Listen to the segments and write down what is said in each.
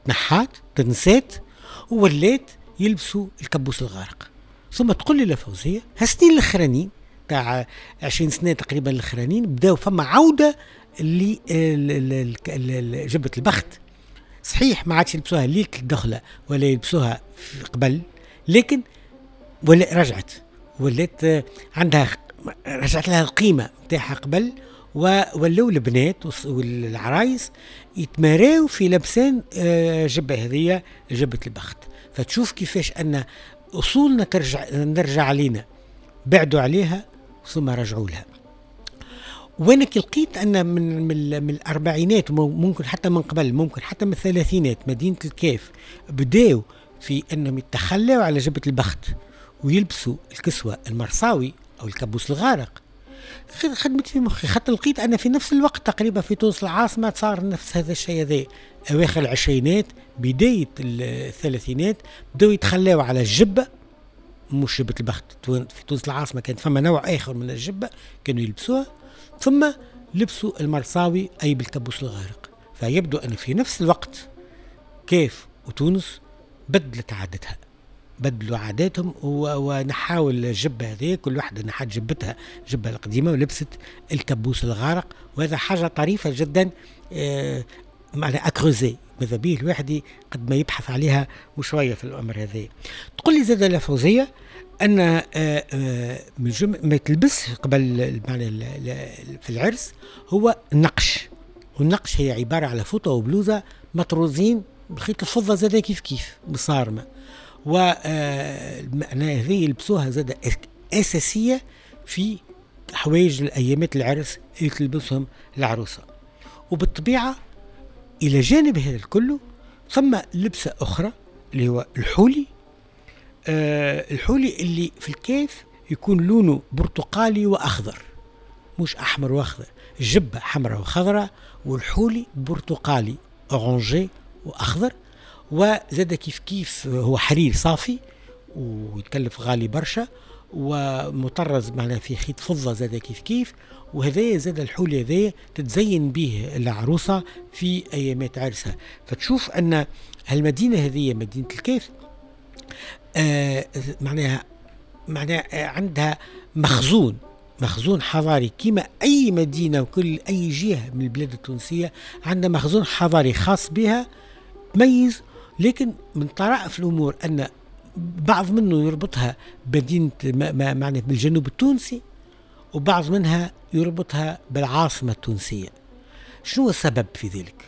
تنحات تنسات وولات يلبسوا الكبوس الغارق. ثم تقول لي لفوزية هالسنين الاخرانيين تاع 20 سنة تقريبا الاخرانيين بداو فما عوده لجبه البخت. صحيح ما عادش يلبسوها ليلة الدخلة ولا يلبسوها قبل، لكن ولا رجعت، ولات عندها رجعت لها القيمة نتاعها قبل، وولاو البنات والعرايس يتماراو في لبسان جبه هذية جبه البخت. فتشوف كيفاش ان اصولنا نرجع علينا، بعدوا عليها ثم رجعوا لها. وانا كي لقيت ان من الاربعينات، ممكن حتى من قبل، ممكن حتى من الثلاثينات، مدينة الكاف بداوا في انهم يتخلوا على جبه البخت ويلبسوا الكسوة المرصاوي او الكابوس الغارق. خدمت في مخي، خاطر لقيت ان في نفس الوقت تقريبا في تونس العاصمة صار نفس هذا الشيء هذا، اواخر العشرينات بداية الثلاثينات بداوا يتخلاو على الجبة، مش جبه البخت. في تونس العاصمة كانت فما نوع اخر من الجبة كانوا يلبسوها، ثم لبسوا المرصاوي اي بالكابوس الغارق. فيبدو ان في نفس الوقت كيف وتونس بدلت عادتها، بدلوا عاداتهم ونحاول الجبة هذه، كل واحدة نحت جبتها جبة القديمة ولبست الكابوس الغارق. وهذا حاجة طريفة جدا، معناها à creuser، ماذا به الواحد قد ما يبحث عليها وشوية في الأمر هذا. تقول لي زاد لفوزية أن من ما تلبس قبل في العرس هو النقش، والنقش هي عبارة على فوطة وبلوزة مطروزين بخيط الفضة زاد كيف كيف بصارمة، ومعناها هذه يلبسوها زاد أساسية في حوايج الأيامات العرس اللي تلبسهم العروسة. وبالطبيعة إلى جانب هذا الكل ثم لبسة أخرى اللي هو الحولي. الحولي اللي في الكيف يكون لونه برتقالي وأخضر، مش أحمر وأخضر، الجبة حمراء وخضراء والحولي برتقالي orangé وأخضر. وزاد كيف كيف هو حرير صافي ويتكلف غالي برشا ومطرز معناها في خيط فضة زاد كيف كيف. وهذا زاد الحولي هذا تتزين به العروسة في أيامات عرسها. فتشوف أن المدينة هذه مدينة الكاف معناها عندها مخزون حضاري كما أي مدينة وكل أي جهة من البلاد التونسية عندها مخزون حضاري خاص بها تميز. لكن من طرائف الأمور أن بعض منه يربطها بمدينة معناها بالجنوب التونسي، وبعض منها يربطها بالعاصمة التونسية. شنو السبب في ذلك؟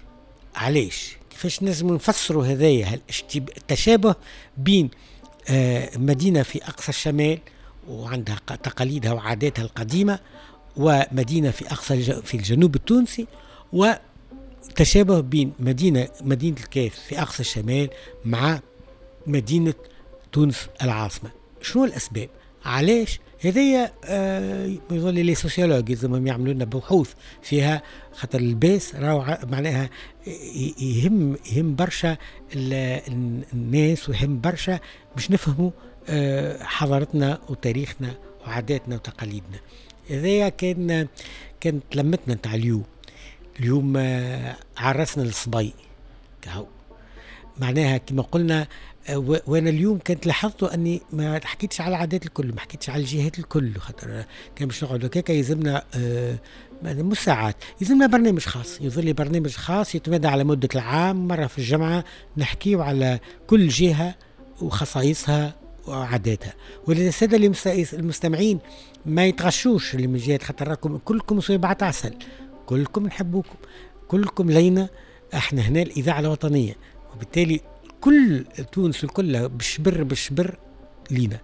علاش؟ كيفاش نجم نفسروا هذايا التشابه بين مدينة في أقصى الشمال وعندها تقاليدها وعاداتها القديمة، ومدينة في أقصى في الجنوب التونسي، وتشابه بين مدينة الكاف في أقصى الشمال مع مدينة تونس العاصمة؟ شنو الأسباب؟ علاش؟ هذايا يظل les sociologues يلزمهم يعملوا لنا بحوث فيها، خاطر اللباس راهو معناها يهم برشا الناس ويهم برشا باش نفهموا حضارتنا وتاريخنا وعاداتنا وتقاليدنا. هذايا كانت لمتنا نتاع اليوم. اليوم عرسنا الصبي كهو، معناها كما قلنا. وانا اليوم كنت لاحظت اني ما حكيتش على العادات الكل، ما حكيتش على الجهات الكل، خاطر كان باش نقعد هكاك يلزمنا مش ساعات، يلزمنا برنامج خاص، يظل برنامج خاص يتمدى على مدة العام، مرة في الجمعة نحكيو على كل جهة وخصائصها وعاداتها. وللسادة المستمعين ما يتغشوش اللي من جهات، خاطر راكم كلكم صويبعات عسل، كلكم نحبوكم، كلكم لينا، احنا هنا الإذاعة الوطنية، وبالتالي كل تونس الكل بشبر بشبر لينا.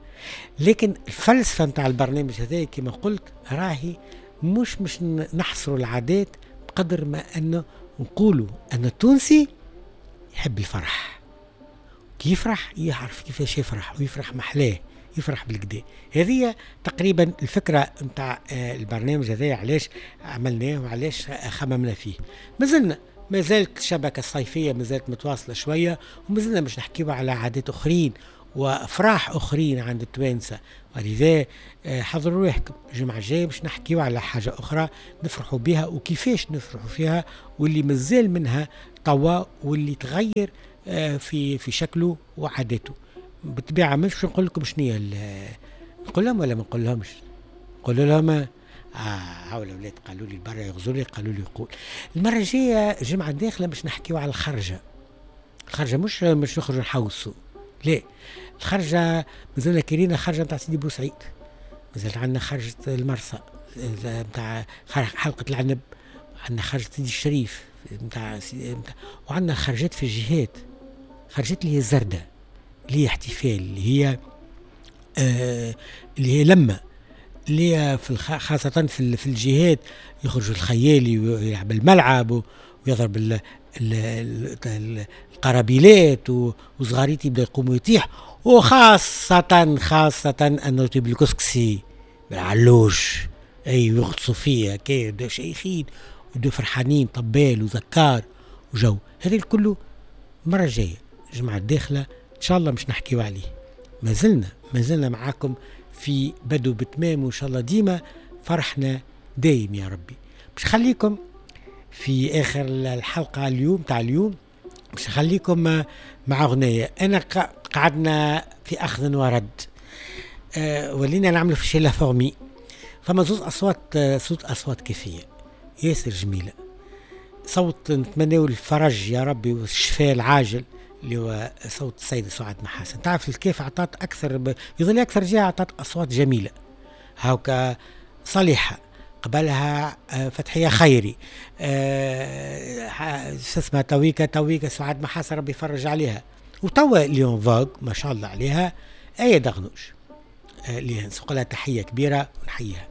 لكن الفلسفة نتاع البرنامج هذا كما قلت راهي مش نحصروا العادات بقدر ما أنه نقولوا أن التونسي يحب الفرح، كي يفرح يعرف كيفاش يفرح ويفرح محلاه، يفرح بالكدا. هذه تقريبا الفكرة نتاع البرنامج هذا، علاش عملناه وعلاش خممنا فيه. ما زالت الشبكة الصيفية ما زالت متواصلة شوية، وما زلنا باش نحكيو على عادات أخرين وأفراح أخرين عند التوانسة، ولذا حضروا روحكم الجمعة الجاية باش نحكيو على حاجة أخرى نفرحوا بها وكيفاش نفرحوا فيها، واللي مازال منها توا واللي تغير في شكله وعاداته. بالطبيعة مش نقول لكم شنو هي، نقول لهم ولا ما نقول لهمش؟ نقول لهم هاو الاولاد قالوا لي برا يغزوا لي، قالوا لي يقول المرة الجاية الجمعة الداخلة باش نحكيو على الخرجه. الخرجه مش نخرجوا نحوسوا، لا، الخرجه مازلنا كرينا خرجه نتاع سيدي بوسعيد، مازالت عندنا خرجه المرسى نتاع حلقة العنب، عندنا خرجه سيدي الشريف نتاع، وعندنا خرجات في الجهات، خرجات اللي هي الزردة، اللي هي احتفال، اللي هي لمه، اللي هي في خاصة في الجهات يخرج الخيالي ويلعب الملعب ويضرب القرابيلات وصغاريتي يبدا يقوم ويطيح، وخاصة خاصة أنه يطيب الكسكسي بالعلوش، أي يغطسوا فيها كي يبداو شيخين ويبداو فرحانين، طبال وزكار وجو. هذا الكل المرة الجاية الجمعة الداخلة إن شاء الله مش نحكيو عليه. ما زلنا معاكم في بدو بتمام، وإن شاء الله ديما فرحنا دايم يا ربي. باش نخليكم في آخر الحلقة اليوم تاع اليوم، باش نخليكم مع أغنية. أنا قعدنا في أخذ ورد، ولينا نعملوا في chez la fourmi. فما زوز أصوات، صوت أصوات كيفية ياسر جميلة، صوت نتمناو الفرج يا ربي والشفاء العاجل اللي هو صوت السيدة سعاد محاسن. تعرف الكيف عطات أكثر يظل أكثر جهة عطات أصوات جميلة، هاوكا صالحة قبلها فتحية خيري، شو اسمها تويكا سعاد محاسن ربي يفرج عليها، وتوا اللي en vogue ما شاء الله عليها آية دغنوش، اللي نسوق لها تحية كبيرة ونحييها.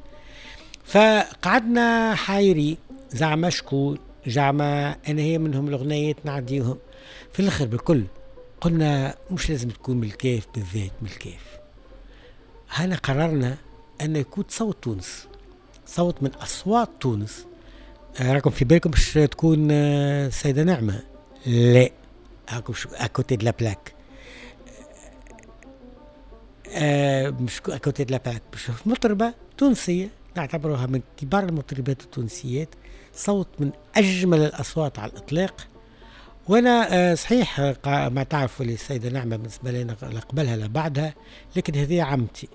فقعدنا حايري زعما شكون، زعما أنا هي منهم الأغنيات نعديهم في الآخر بالكل. قلنا مش لازم تكون من الكاف بالذات، من الكاف هنا قررنا أن يكون صوت تونس، صوت من أصوات تونس. راكم في بالكم باش تكون السيدة نعمة؟ لا، راكم à côté de la plaque، مش à côté de la plaque. باش مطربة تونسية نعتبرها من كبار المطربات التونسيات، صوت من أجمل الأصوات على الإطلاق. وانا صحيح ما تعرفوا السيدة نعمه بالنسبة لنا لا قبلها لا بعدها، لكن هذه عمتي،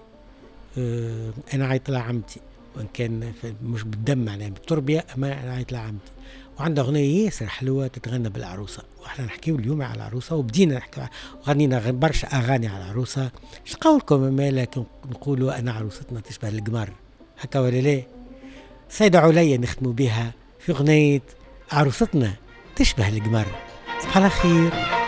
انا عيط لها عمتي، وان كان مش بالدم معناها بالتربيه، اما انا عيط لها عمتي. وعندها اغنية ياسر حلوة تتغنى بالعروسه، واحنا نحكيو اليوم على العروسة وبدينا نحكيو وغنينا برشا اغاني على العروسه. اش قولكم مالا نقولوا انا عروستنا تشبه القمر، هكا ولا لا؟ سيدة عليا نختموا بها في اغنية عروستنا تشبه القمر. صباح الخير.